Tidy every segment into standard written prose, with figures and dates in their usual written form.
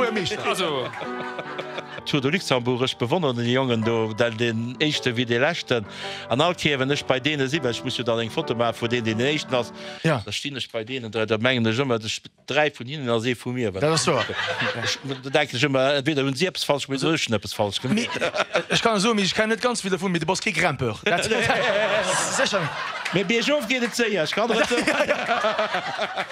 Buergermeeschter. Also. Tour de Luxembourg, ech bewonneren déi Jongen do, deen éischte wéi dee leschten. An all Kéier wann ech bei deene sinn, well ech muss jo dann eng Foto maache vu deen, deen den éischten ass, da stinn ech bei deenen 3, da mengen ech ëmmer, 3 vun hinnen ass ee vu mir. Dat ass wouer. Da denken ech ëmmer, entweder hunn si eppes falsch gemaach oder ech hunn eppes falsch gemaach. Ech kann der soen, mee ech kennen net ganz vill dervun, mee du bass kee Grimpeur. Dat sécher net. Mee biergof geet et séier, ech kann der et soen.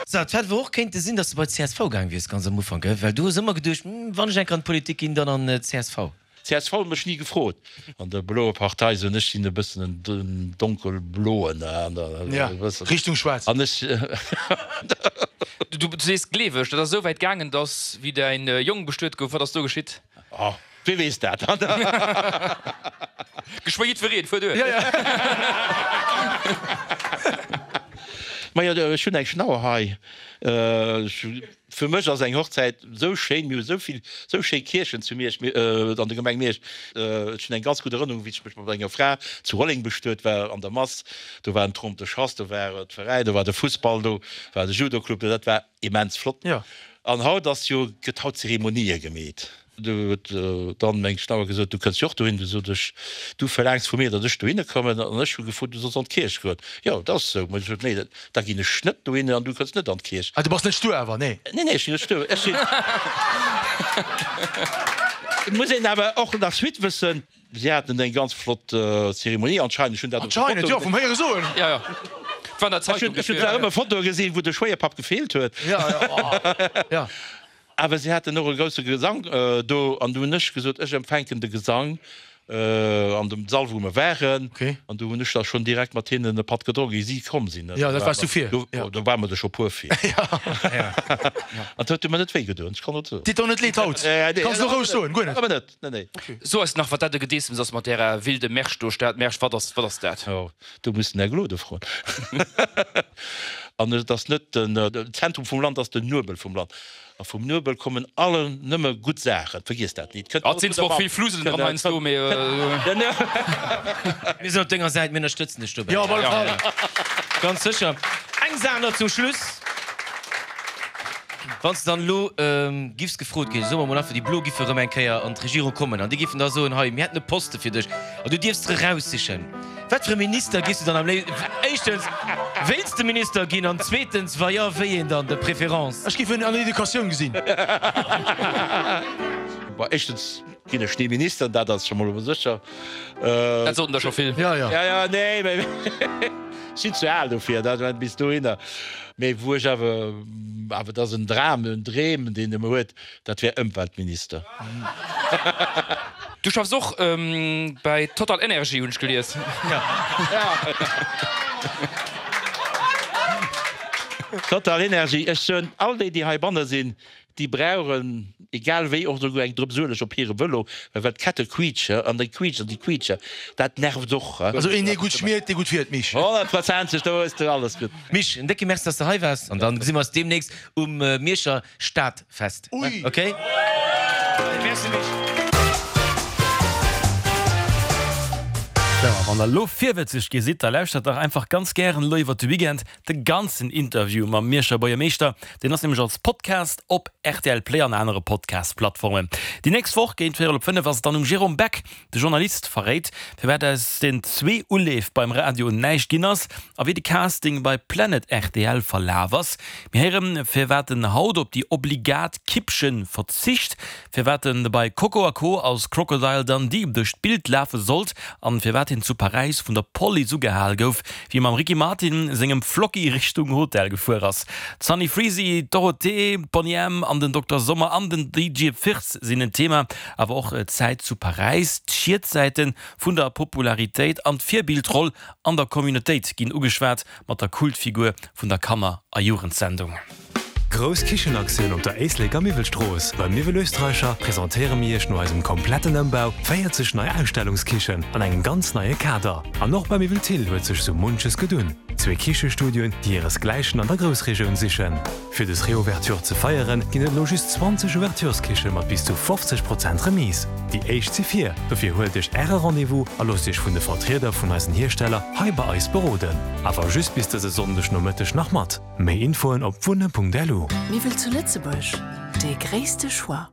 Sou, et hätt awer och kéinte sinn, datt s de bei d'CSV gaang wiers ganz am Ufank, well du hues ëmmer geduecht, Wann ech eng Kéier an d'Politik ginn, dann an d'CSV. Csv huet mech ni gefrot. An der bloer Partei soen ech sinn e bëssen en donkelbloen an Ja, Richtung schwaarz. An ech. Du sees gleeweg, dat ass esou wäit gaangen, datt wéi däin Jong bestuet gouf, wat ass do geschitt? Oh, wee weess dat? Geschwë jiddwereen, fuer duer. Ja, ja. Majo, ech hunn eng Schnauer hei. Ech. Fir mech ass eng Hochzäit sou schéin, mir hu sou vill sou schéi Kierchen zu Miersch, an der Gemeng Miersch. Ech hunn eng ganz gutt Erënnerung, wéi ech mech mat enger Fra zu Rolleng bestuet war an der Mass. Do war en Trompe de chasse, do war d'Veräin, do war de Fussball, do war de Judoclub, dat war immens flott. An haut ass jo, gëtt haut Zeremonië gemeet. Du huet dann meng Schnauer gesot, du kënns jo och dohin. Du sot ech, du verlaangs vu mir, datt ech dohinne kommen. An ech hu gefrot, du solls an d'Kierch goen. Jo, dat ass esou. Mä ech sot, nee, da ginn ech net dohinne an du kënns net an d'Kierch. Ah, du bass net stur awer, nee? Nee, nee, ech sinn net stur. Ech sinn. Et muss een awer och nach Suite wëssen. Si haten eng ganz flott Zeremonie anscheinend. Ech hunn dat op der Anscheinend, Foto jo, vum Héiere soen. Jo, jo, et war an der Ech Zeitung hunn, ech hunn dofir. zwar ëmmer Fotoe gesinn, wou de Schwéierpapp gefeelt huet. Jo, jo, oh, jo. Awer si haten och e grousse Gesang do, an du hunn ech gesot, ech empfänken de Gesang an dem Sall, wou mer waren. An du hunn ech da schonn direkt mat hinnen e Patt gedronk, ier si komm sinn. Jo, dat waars du vir. Do war mer der scho puer vir. An dat huet mer net wéi gedoen, ech kann et soen. Deet der net leed haut? Kanns du roueg soen, guer net. Awer net, nee, nee. So eis nach, wat dat e Gedeessems ass mat därer wilde Märsch do, Stad Märsch, wat ass, wat ass dat? Jo, do muss den Här Gloden froen. An et ass net den Zentrum vum Land, ass den Nuebel vum Land. A vum Nuebel kommen alle nëmme gutt Saachen, vergiess dat nit. Et sinn zwar och vill Fluselen dran heiansdo, mee. Mir sinn op denger Säit, mir ënnerstëtzen dech dobäi. Jo, op alle Fall. Ganz sécher. Eng Saach nach zum Schluss, Wann s de dann elo giffs gefrot ginn, soe mer mol einfach, déi Blo giffe erëm eng Kéier an d'Regierung kommen an déi giffen da soen, hei, mir hätten e Poste fir dech an du dierfs der eraussichen, Wat fir e Minister giffs du dann am léifsten, éischtens, wéilts de Minister ginn an zweetens, wa jo, wéi een dann de préférence? Ech giff en an der Educatioun gesinn. Bon, éischtens ginn ech ni Minister, dat ass scho mol sécher. Dat soten der scho vill. Jo, jo. Jo, jo, nee, mä ech sinn ze al dofir, dat bis dohinner. Mee wou ech awer, awer dat ass en Dram, en Dream, deen e mer huet, Dat wär Ëmweltminister. Du schaffs och bäi Total Energie, hunn ech gelies. Total Energie, ech soen all déi, déi heibanne sinn, déi brauchen, egal wéi, och esouguer eng Drëps Ueleg op hire Vëlo, well well d'Kette quietsche an déi quietschen an déi quietsche, dat nervt och. Also een, dee gutt schmiert, dee gutt fiert, Misch. Honnertprozenteg, do hues de alles gutt. Misch, en décke Merci, dass de hei waars an dann gesi mer eis deemnächst um Mierscher Stadfest. Ui! Ok? Merci Misch. Sou, a wann der elo virwëtzeg gi sidd, da lauschtert dach einfach ganz gären elo iwwert de Weekend de ganzen Interview mam Mierscher Buergermeeschter. Deen ass nämlech als Podcast op rtl Play an anere Podcast-Plattformen. Déi nächst Woch géint véierel op 5 ass et dann um Jérôme Beck. De Journalist verréit, firwat aus den zwee Uleef beim Radio näischt ginn ass a wéi de Casting bei Planet rtl verlaf ass. Mir héieren, firwat en haut op déi obligat Kippchen verzicht, firwat en bei Coco a Co als Crocodile Dundee duerch d'Bild lafe sollt an firwat hien zu Paräis vun der Police ugehal gouf, wéi e mam Ricky Martin sengem Flocki Richtung Hotel gefuer ass. D'Sunny Freezy, d'Dorothée, d'Boney M an den Dokter Sommer an den DJ Firtz sinn en Thema. Awer och d'Zäit zu Paräis, d'Schietsäite vun der Popularitéit an d'Virbildroll an der Communautéit ginn ugeschwat, mat der Kultfigur vun der Kanner a Jugendsendung. Grouss Kichenaktioun op der Éisleker Miwwelstrooss! Beim Miwwel Österreicher presentéiere mir Iech no eisem kompletten Ëmbau 40 nei Ausstellungskichen an engem ganz neie Kader. An och beim Miwwel Thill huet sech sou munches gedunn. Zwee Kichestudioen, déi hiresgläichen an der Groussregioun sichen. Fir des Reouverture ze feieren, ginn et elo just 20 Ouvertureskiche mat bis zu 50 Prozent Remise. Déi éischt si vir, dofir huelt iech äre Rendez-vous a loosst iech vun de Vertrieder vun eisen Hiersteller hei bei eis beroden. Awer just bis dëse Sonndeg Nomëtteg nach mat. Méi Infoen op wunne.lu. Miwwel zu Lëtzebuerg, dee gréisste Choix.